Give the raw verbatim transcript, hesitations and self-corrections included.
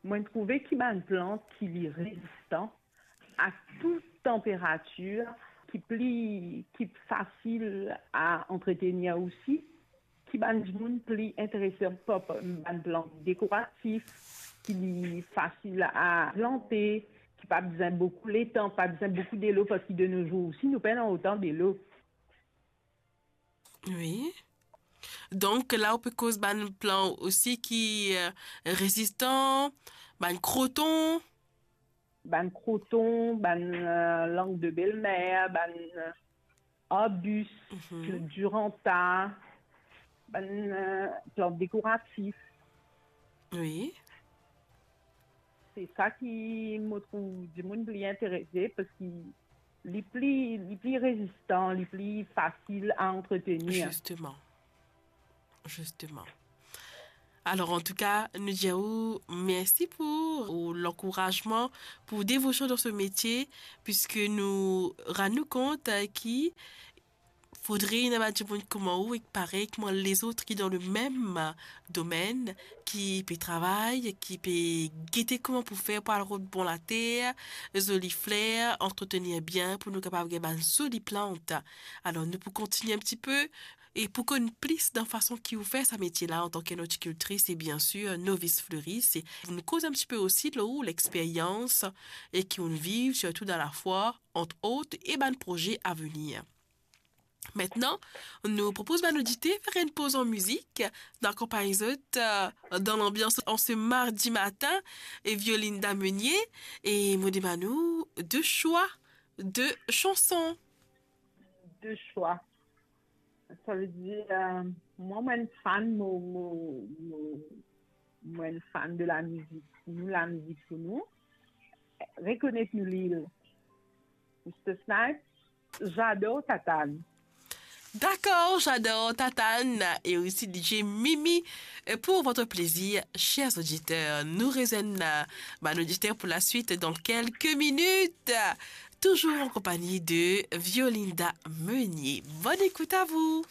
Mo'nn trouve ki bann plant ki li rezistan a tou tanperatir, ki pli, ki fasil a antretenir osi, ki bann dimoun pli interese par bann plant dekoratif, ki li fasil a plante, ki pa bizin boukou letan, pa bizin boukou delo, parski de no zour osi, nou pena otan delo. Wi. Donk, la ou pe koz bann plant osi ki, euh, rezistan, bann kroton. Bann kroton, bann, euh, lang de belmer, bann, euh, arbis, mhm, duranta, bann, euh, plant dekoratif. Wi. Se sa ki mo trouv dimoun pli interese, parski li pli, li pli rezistan, li pli fasil a antretenir. Zisteman. Zisteman. Alor, antouka, nou dir ou mersi pou ou lankourazman, pou devosion dan so metie, piski nou rann nou kont, euh, ki fodre ena bann dimoun kouma ou ek parey kouma lezot ki dan lemem domenn, ki pe travay, ki pe gete kouma pou fer pou al rod bon later, zoli fler, antretenir bien pou nou kapav gagn bann zoli plant. Alor, nou pou kontigne enn tipe e pou konn plis dan fason ki ou fer sa metie la antan ki enn ortikiltris e biensir novis fleris. E nou koz enn tipe osi lor ou lexperyans e ki ou'nn viv, sirtou dan lafwa, ant ot, e bann proze avenir. Aster, nou propoz bann oditer fer enn poz an mizik, nou akonpagn zot, euh, dan lanbians an se mardi matin, e Violinda Meunier, e mo demann ou de swa de sanson. De swa. Savedir, euh, mwa, mo'nn fan, mo, mo, mo, mo'nn fan de lamizik pou nou, lamizik pou nou. Rekonet nou lil. Mister Snipes, J'adore Tatane. Dakor, J'adore Tatane, e osi D J Mimi, euh, pour votre plaisir, chers auditeurs. Nou rezwenn, euh, bann oditer pou laswit dan kelke minit, toujours en compagnie de Violinda Meunier. Bonne écoute à vous.